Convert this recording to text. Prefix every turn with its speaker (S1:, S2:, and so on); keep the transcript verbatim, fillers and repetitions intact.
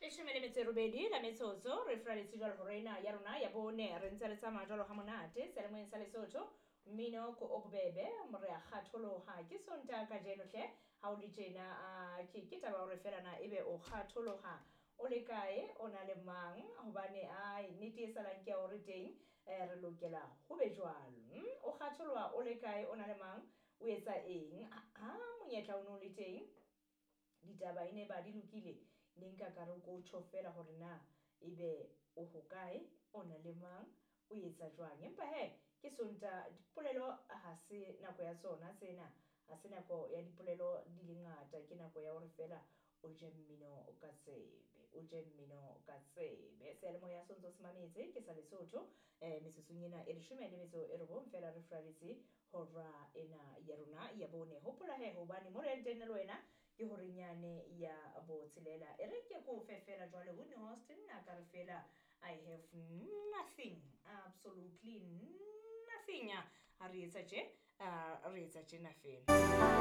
S1: Leshome le metso e robedi la metsotso re furaletse jwalo hora ena ya rona ya bone. Re ntse re tsamaya jwalo ha monate seyalemoyeng sa Lesotho, mmino ko o bobebe, re a kgatholoha. Ke Sontaha kajeno hle, ha o le tjena ah, ke ke taba ya hore fela na ebe o kgatholoha o le kae, o na le mang, hobane ai nnete e salang ke ya hore teng eh, re lokela ho be jwalo. mm, o kgatholoha o le kae, o na le mang, o etsa eng? Ha monyetla o no le teng, ditaba e ne ba di lokile, ne nka ka re ko tjho fela hore na ebe o hokae, o na le mang, o etsa jwang. Empa he ke Sontaha, dipolelo ha se nako ya tsona tsena, ha se nako ya dipolelo di le ngata, ke nako ya hore fela o je mmino ka tsebe, o je mmino ka tsebe. Seyalemoya se ntso se mametse ke sa Lesotho. um metsotsong ena e leshome le metso e robong fela re furaletse hora ena ya rona ya bone. Hopola he hobane mo re yang teng le wena ke horenyane ya botshelela. E re ke ko fe fela jwale Whitney Houston a ka re fela "I have nothing, absolutely nothing". Ha re etsa tje, ah, re etsa tjena fela.